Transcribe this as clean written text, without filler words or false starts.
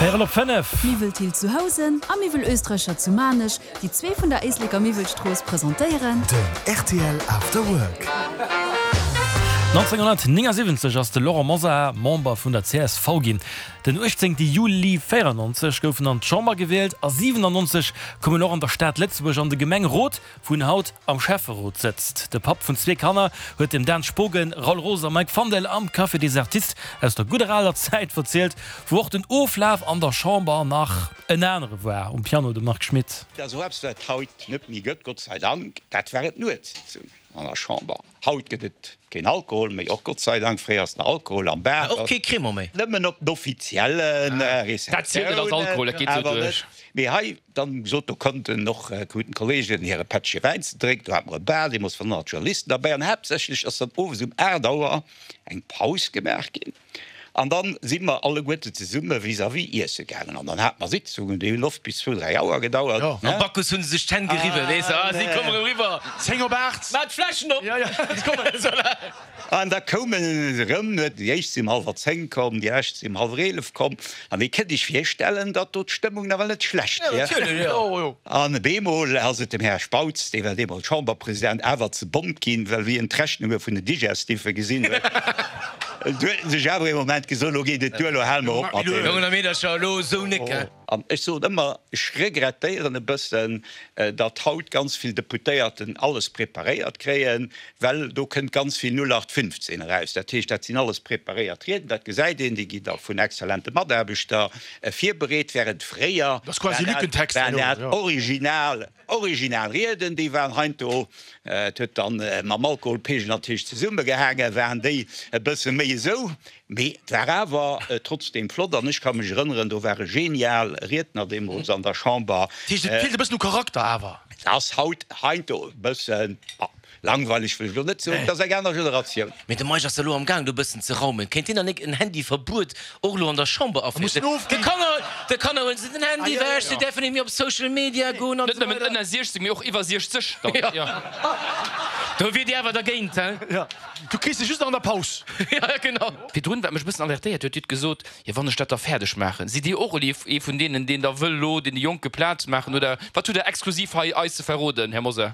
Véierel op 5. Miwwel Thill zu Housen a Miwwel Oestreicher zu Maarnech, déi zwee vun der Éisleker Miwwelstrooss, presentéieren. Den rtl After Work. 1979 ass de Laurent Mosar Member vun der csv ginn. Den 18 Juli 94 gouf en an d'Chamber gewielt a 97 koum en och an der Stad Lëtzebuerg an de Gemengerot. Wou en haut am Schäfferot sëtzt. De Papp vun zwee Kanner huet dem Dan Spogen, Raoul Roos a Mike Fandel am Café des Artistes aus der gudder aler Zäit verzielt, wou och den Oflaf an der Chamber nach en anere war. Um Piano de Marc Schmitt. Dat ass och eppes, wat haut net méi gëtt, Gott sei Dank, dat waren d'Nuetssitzungen an der Chamber. Haut gëtt et keen Alkohol méi, och Gott sei Dank. Fréier ass den Alkohol am Bar. Och kee Cremant méi. Nëmmen op den offizielle Receptiounen, awer net. Mee hei dann gesot, do konnten och kruten d'Kollegen hire Pättche Wäin ze drénken. Do hate mer e Bar, deemools waren 100 Journalisten derbäi. An haaptsächlech ass dann owes um 8 Auer eng Paus gemaach ginn. An dann si mer alleguerte zesumme vis-à-vis iesse gaangen. An dann hate mer Sitzungen, déi hunn oft bis zwou, dräi Auer gedauert. Am Bacchus hu se sech d'Hänn geriwwen, weess de, ah, si kommen erëm eriwwer. Zéng op aacht. Maach d'Fläschen op! Ja, ja, se kommen. An da koumen se erëm, déi éischt si um hallwer zéng komm, déi lescht si um hallwer 11 komm. An dir kënnt iech virstellen, datt do d'Stëmmung nawell net schlecht wier. An op eemol ass et dem Här Spautz, dee war deemools Chamberpresident, awer ze bont ginn, well wéi en d'Rechnunge vun den Digestiffe gesinn huet, Du huet en sech awer ee Moment gesot, Elo geet et duer, elo hale mer op mat deem. Jongen a Meedercher, elo esou nek, he? An ech soen ëmmer, ech regrettéieren e bëssen, datt haut ganz vill Deputéierten alles preparéiert kréien, well do kënnt ganz vill 0815 eraus. Dat heescht, dat sinn alles preparéiert Rieden, dat gesäit een, déi ginn da vun exzellente Mataarbechter virbereet, während fréier waren dat original Original Rieden, déi waren heindo, et huet dann mam Alkoholpegel natierlech zesummegehaangen, waren déi e bësse méi esou, mee et war awer trotzdem flott an ech ka mech erënneren, do war e genial Riedner deemools an der Chamber. Dat heescht, et feelt e bëssen u Charakter awer. Et ass haut heindo e bëssen, Langweileg wëll ech elo net soen, et ass eng aner Generatioun. Mee de Meisch ass elo am Gaang do e bëssen ze raumen. Kéint hien dann nik en Handyverbuet och elo an der Chamber aféieren? De Kanner, de Kanner huelen se den Handy ewech, se däerfen net méi op Social Media goen an Net esou nëmmen weider. ënner 60, mee och iwwer 60 dann, jo. Do wier Dir awer dergéint, he? Jo, du kriss se just nach an der Paus. Jo, genau. Virdrun, wat mech e bëssen alertéiert huet, Dir hutt gesot, jo wann ech dat da fäerdeg maachen. Sidd Dir och elo ee vun deenen, deen da wëll elo deene Jonke Plaz maachen oder wat hutt Der exklusiv hei eis ze verroden, Här Mosar?